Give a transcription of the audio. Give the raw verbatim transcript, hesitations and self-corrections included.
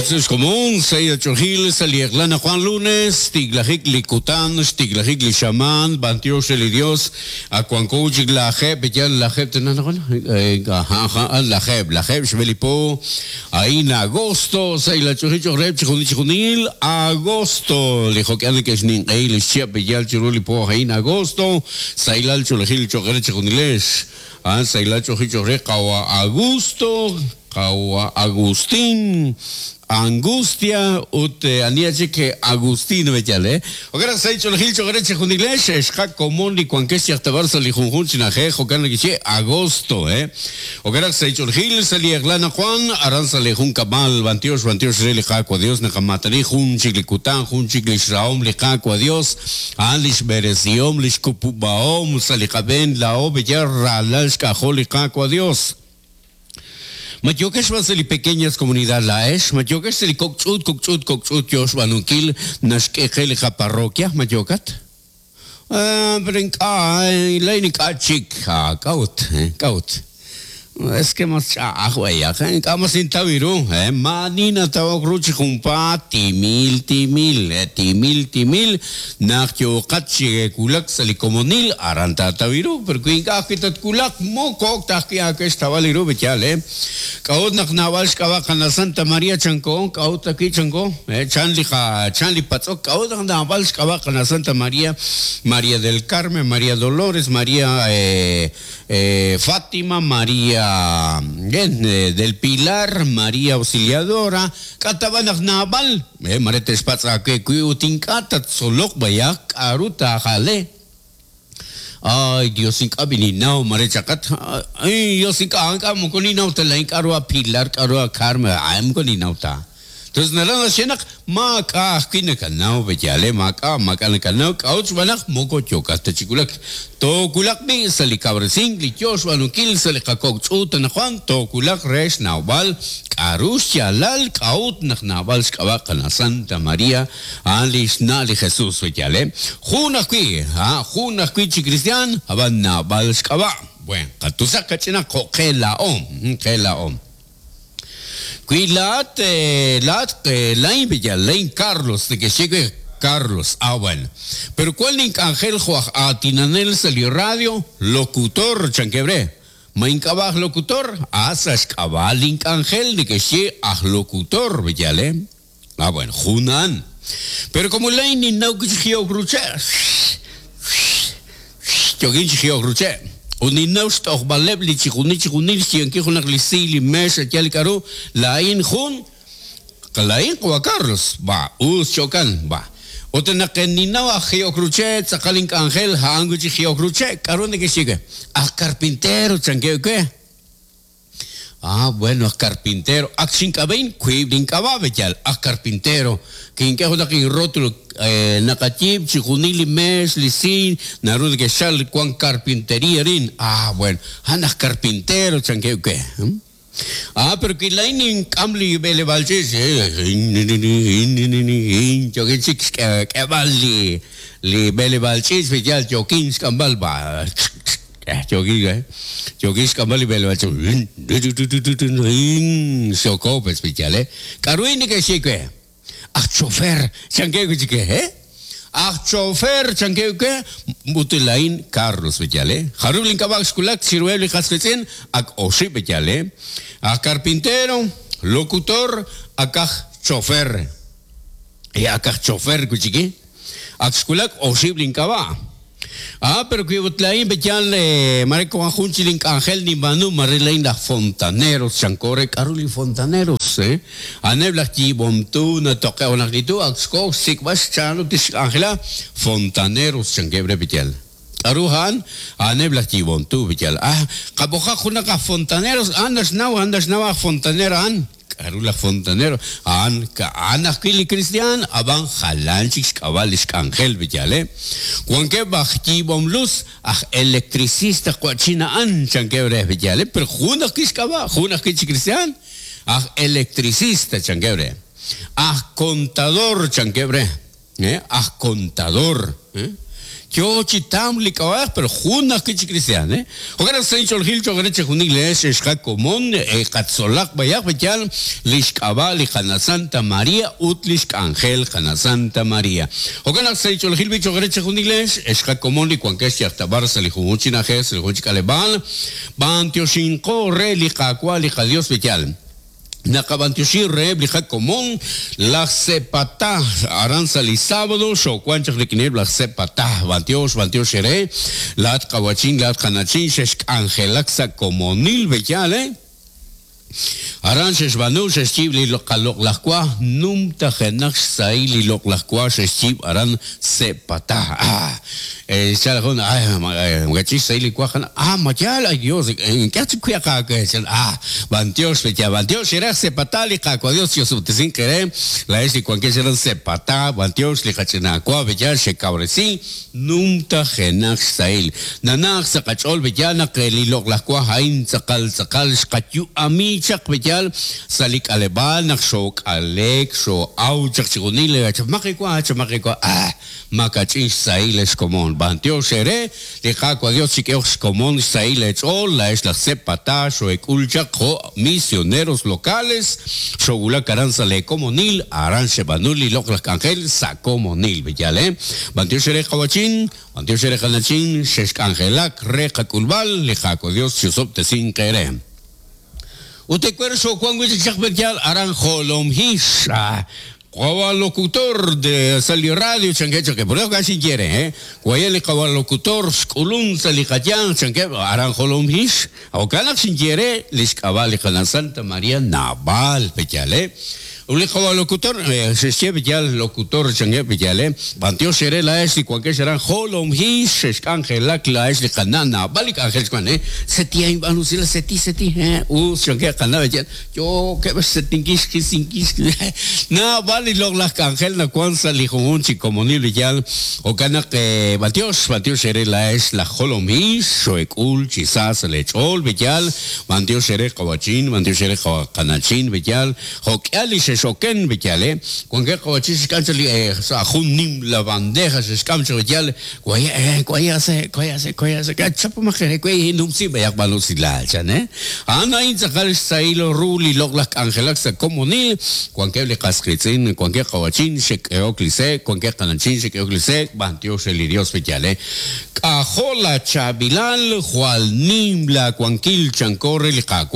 Xkomon sa' chojil sa' li eq'la Juan lunes tiglajik li kutan xtiglajik li xaman bantiox li Dios akuanko chik lajeb yal lajeb tenana ajá lajeb lajeb xbelipo ahí en agosto sa' la chojil chojreb chijunil chijunil agosto li jokian que xnin q'ey li xchiap yal chiruli po ahí en agosto sa' la chojil chojreb chijunilex ah sa' la chojil chojreb qawa Augusto qawa Agustín Angustia ut ania che Agustín bechale. Okara sai cholgil chogre chejunilesh xqa komon li kuankesh yachtabar sali junjun chinaje jokan kiche agosto eh. Okara sai cholgil sali eglana Juan aran sali jun kamal bantiosh bantiosh re li qaqwa Dios naqamatani jun chiklikutan jun chiklishraom li qaqwa Dios an lish beresiom lish kupubaom sali qaben la o beyar ralal xkajol li qaqwa Dios. Matyokesh va seli pequeñas comunidad laesh, matyokesh seli kokchut, kokchut, kokchut, yosh banukil, nashkejel ja parroquia, matyokat. Ah, pero en ka, leinik achik, ha, kaut, kaut. Es que más chah, güey, ka mas intawiru, eh, manina tawak ruchi jumpa, timil, timil, eh, timil, timil, nak yokat chige kulak sali komonil, aranta tawiru, pero kuinka kitat kulak, mokok takia que estaba liru bechal, eh. Kaut nak nawal xkaba kana Santa María chanko, kaut aki chanko, eh, chanli ja, chanli patzok, kaut nak nawal xkaba kana Santa María, María del Carmen, María Dolores, María eh, eh, Fátima, María bien, eh, del Pilar, María Auxiliadora, Katabanak Nabal, eh, Marete Spatza, que Kuiutinkata, Tzolok, Bayak, Aruta, Jale. Ay, Dios, incabininao, Marechacat, ay, Dios, inca, muconinauta, la incarua Pilar, Carua Carmen, ay, muconinauta. Entonces, narana shenak, maka, kinakanao, bechale, maka, makanakanao, kauch, banak, moko, chokas, techikulak, tokulak, mi, salikabresing, lichosh, banukil, salikakok, chutan, Juan, tokulak, resh, naubal, karush, yalal, kaut, nak, naubal, xkabak, Santa María, alish, nali, Jesús, bechale, junakui, ha, junakui, chi cristian, aban, naubal, xkabak, bueno, katusak, kachina, kokela, om, kela, om. Cuilat, lat, lain bella, lain Carlos, de que llegue Carlos, ah bueno. Pero ¿cuál link Ángel Juan Atinanel salió radio? Locutor, chanquebre. Maincabaj locutor, asas cabal link Ángel de que llegue a locutor, bellale. Ah bueno, Junan. Pero como lain ni naukichio cruche. Yoginchio cruche. Uninaust och baleb li chikuni chikuni chianki junak li si li mes yal karu lain jun lain kwa Carlos ba us chokan ba otenakeninaw a geocruche tzakalink Ángel hanguchi geocruche karu ne que sigue a carpintero chanque que ah bueno a carpintero axinkabein kuiblinkababe yal a carpintero quinque jodakin rótulo eh, nakachip chikunili mes lisin narud que shal cuan carpintería rin ah bueno andas carpintero chanque que ¿hmm? Ah pero que lainin kamli bele balches yo que chik que bali li bele balches yal jokin skambal ba Jogi, eh? Jogi skambali bele balches sokopes pichale karuini que chique a chofer, chanque que eh? A chofer, chanque que mutelain Carlos bechale. Harublin kabak skulak siruebli hasketzen ak osi bechale. A carpintero, locutor, akaj chofer. E akaj chofer kuchiki. Ak skulak osiblin kaba. Ah, pero que butlain bechale, mareko anjunchilin Ángel ni manu marilein la fontaneros, chancore caruli fontaneros, eh? Anebla kibontuna toque una actitud, axco sikbas chano tis Ángela fontaneros chanquebre bechal. Aruhan anebla kibontu bechal. Ah, kaboja junaka fontaneros, andas nau, andas nau fontanera an. Arula fontanero an ka anakili cristian aban jalanchik kabalish angel bechale cuanque bajti bom luz aj electricista cuachina an chanquebre bechale pero juna kishkaba juna kich cristian aj electricista chanquebre aj contador chanquebre eh aj contador eh Yo chi tam li k'ab'aj, pero jun ajwi' chi cristian, eh? Jo'kan naq sa' inch'oolejil cho'q re chixjunil leex xqakomon, eh, qatzolaq b'ayaq b'ayal li xk'ab'a' li Qana Santa María ut li xk'anjel Qana Santa María. Jo'kan naq sa' inch'oolejil b'i cho'q re chixjunil leex xqakomon li wankex yajtab'ar sa' li junjunq chi na'ajej, sa' li junjunq chi k'aleb'aal, b'antioxinqo re li Qaawa' li qaDios b'ayal. Naqab'antioxi reheb' li qakomon laj Sepatá aran sa' li sábado xoowank chaq rik'ineb' laj Sepatá b'antiox b'antiox ere laat qawachin laat qanachin xexk'anjelak sa' komonil b'eyal, eh? Aran xexb'aanu xexyiib' li qaloq'laj wa numtajenaq xsahil li loq'laj wa xexyiib' aran Sepatá. Ah, eh, chala jun, ay, makach'ix xsahil li wa jana, ah, mayal, ay Dios, ink'a' chik kuyaq aawe, chan, ah, b'antiox b'eya, b'antiox eraj Sepatá li Qaawa' Dios yosub'tesinq ere, laa'ex li wankex aran Sepatá, b'antiox li qach'ina wa b'eya xekawresi numtajenaq xsahil. Nanaq sa' qach'ool b'eya naq li loq'laj wa a'in tz'aqal tz'aqal xqayu'ami chaq b'eyal sa' li k'aleb'aal naq xook'alek xoo'aw chaq chixjunil chamaqi wa chamaqi wa, ah, makach'in xsahil xkomon. B'antiox ere li Qaawa' Dios chik'ehok xkomon xsahil eech'ool laa'ex laj Sepatá xoo'ek'ul chaq jo' misioneros locales xoowulak aran sa' le komonil aran xeb'aanu li loq'laj k'anjel sa' komonil b'eyal, eh? B'antiox ere qawachin, b'antiox ere qanachin xexk'anjelak re qak'ulb'al li Qaawa' Dios chusob'tesinq ere. Ut ecuer xoowank wi' chik chaq b'eyal aran Jolomhix, ah, qawa locutor de sa' li radio chanke chanke por eso casi quiere, eh? Guaya li qawa locutor xk'ulun sa' li qayan chanke aran Jolomhix jo'kan naq xinye li xk'ab'a' li Qana Santa María Naval b'eyal, eh? Uli qawa locutor, eh, xexye b'eyal locutor chanke b'eyal, eh? B'antiox ere laa'ex li wankex aran Jolomhix xexk'anjelak laa'ex li Qana Naval li k'anjel xwan, eh? Seti ain b'an usila seti seti, eh? Us chanke Qana b'eyal yo ke setinkix kisinkix Naval li loq'laj k'anjel nawan sa' li junjunq chi komonil b'eyal jo'kan naq, eh, b'antiox b'antiox ere laa'ex laj Jolomhix xoek'ul chi sa sa' lech'ool b'eyal b'antiox ere qawachin b'antiox ere qanachin b'eyal jo'k'ihal li xexoken b'eyal, eh? Wanke qawachin xk'am chaq li, eh, sa' jun nim la bandeja xexk'am chaq b'eyal guaya, eh, guaya se guaya se guaya se chapamaj ere guay numsi b'ayaq b'an usilal chan, eh? A'an a'in tz'aqal xsahil ru li loq'laj k'anjelak sa' komonil wankeb' li qasqitz'in wankeb' qawachin xek'ehok li sek wankeb' qanachin xek'ehok li sek b'antiox re li Dios b'eyal, eh? K'ajo' la chaab'ilal jwal nim la wankil chanko re li Qaawa'